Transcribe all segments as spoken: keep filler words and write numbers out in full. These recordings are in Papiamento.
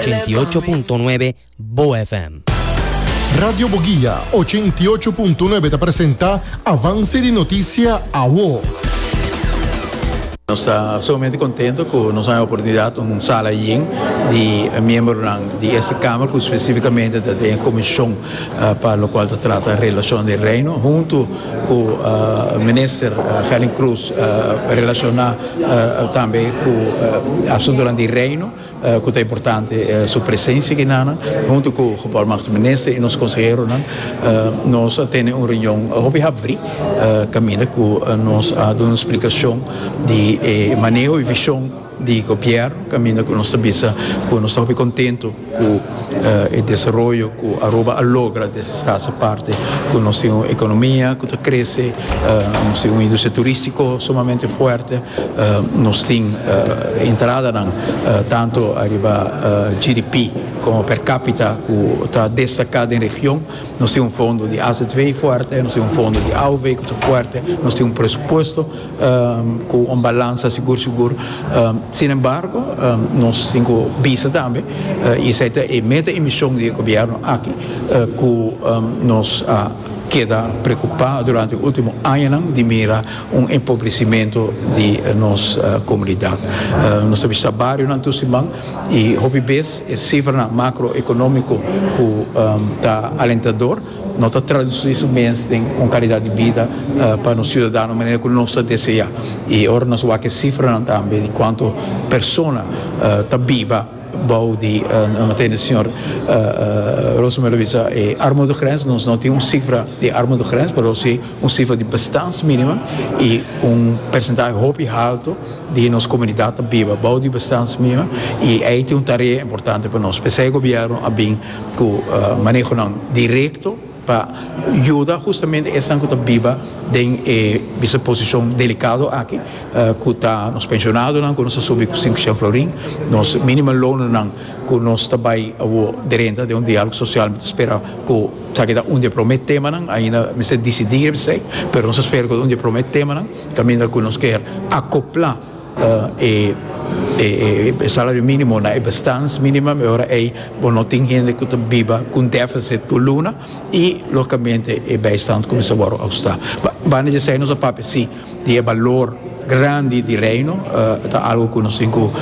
ochenta i ocho punto nuebe Bo F M. Radio Boguia ochenta i ocho punto nuebe ta presenta Avance di Noticia Awo. Nos ta sumamente contento cu nos tin e oportunidad, un sala yen di miembro di e Camara, cu specificamente di comision uh, pa loke ta trata relacion di Reino, hunto cu uh, minister uh, Gerlin Croes, uh, relaciona uh, tambe cu uh, asunto di Reino, uh, cu ta importante uh, su presencia aki na, hunto cu e minister y nos consehero, uh, nos tin un reunion hopi habri, uh, caminda cu uh, nos a duna un splicacion di eh, maneho y vision di gobierno, caminda cu nos ta cu nos ta contento cu e desaroyo cu Aruba a logra di Status Aparte, cu nos tin un economia cu ta crece, uh, nos tin un industria turistico sumamente fuerte, uh, nos tin uh, entrada uh, tanto ariba uh, G D P como per capita cu ta destaca den region, nos tin un fondo di A Z V fuerte, nos tin un fondo di A O V cu ta fuerte, nos tin un presupuesto um, cu un balansa sigur sigur. Um, sin embargo, um, nos tin bisa tambe, uh, y esey ta e meta y mision di gobierno aki, uh, cu um, nos uh, keda preocupa durante e ultimo aña di mira un empobrecimento di nos uh, comunidad. Uh, nos ta bario na siman y hopi bes e cifra macroeconomico cu um, ta alentador, no ta traduci mes den un calidad di bida uh, pa nos ciudadano manera cu nos ta desea. Y ora nos wak e cifra tambe di cuanto persona uh, ta biba bou di uh, meteen señor uh, uh, Rosemary bisa e armoedegrens. Nos no tin un cifra di armoedegrens, pero si un cifra di bestaansminimum y un porcentahe hopi halto di nos comunidad ta biba bou di bestaansminimum y ey tin un tarea importante pa nos. Pesey gobierno a bin cu uh, maneho directo pa yuda justamente esnan cu ta biba den eh, posicion delicado aki, uh, cu ta nos pensionado, cu nos a subi cinco florin, nos minimumloon, cu nos ta bay drenta den un dialogo social, ta spera cu esaki ta un di e prome temanan, ainda mester dicidi esey, pero nos ta spera cu un di e prome temanan, caminda cu nos kier acopla uh, e e, e salario minimo na e bestaansminimum, ora ey bo no tin hende cu ta biba cu deficit tur luna y logicamente e bijstand cuminsa ahusta. Banda di esey nos a papia si di balor grandi di Reino, uh, ta algo cu nos tin uh,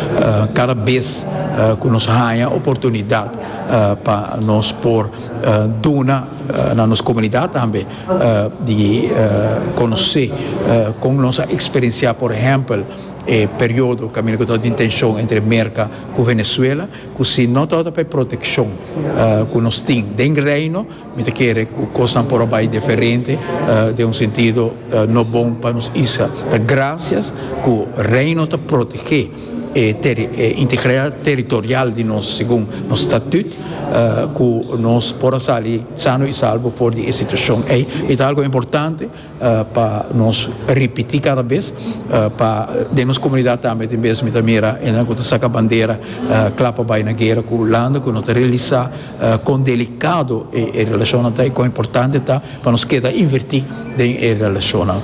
cada bes uh, cu nos haya oportunidad uh, pa nos por uh, duna uh, na nos comunidad tambe uh, di uh, conoce uh, con nos a experiencia, por ehempel, e periodo caminda cu tin tension entre Merca cu Venezuela, cu si no ta pa proteccion uh, cu nos tin den Reino, mi ta kere cu cos por bay diferente, uh, den un sentido uh, no bon pa nos isla. Ta gracias cu Reino ta protege e ter, e integridad territorial di nos segun nos statuut, uh, cu nos por sali sano y salvo for di e situacion ey. E ta algo importante uh, pa nos ripiti cada bes uh, pa den nos comunidad tambe tin bes mi ta mira e cu saca bandera uh, cla pa bay na guera cu Hulanda, cu no ta realisa uh, con delicado e, e relacion ta y con importante ta pa nos keda inverti den e relacion.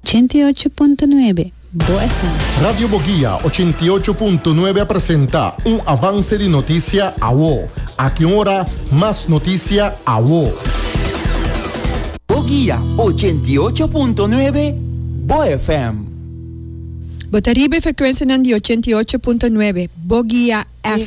ochenta i ocho punto nuebe Bo F M. Radio Boguia ochenta i ocho punto nuebe presenta un avance di noticia Awo. Aki ora, mas noticia Awo. Boguia ochenta i ocho punto nuebe Bo F M. Bo ta riba frecuencia di ochenta i ocho punto nuebe Boguia F M.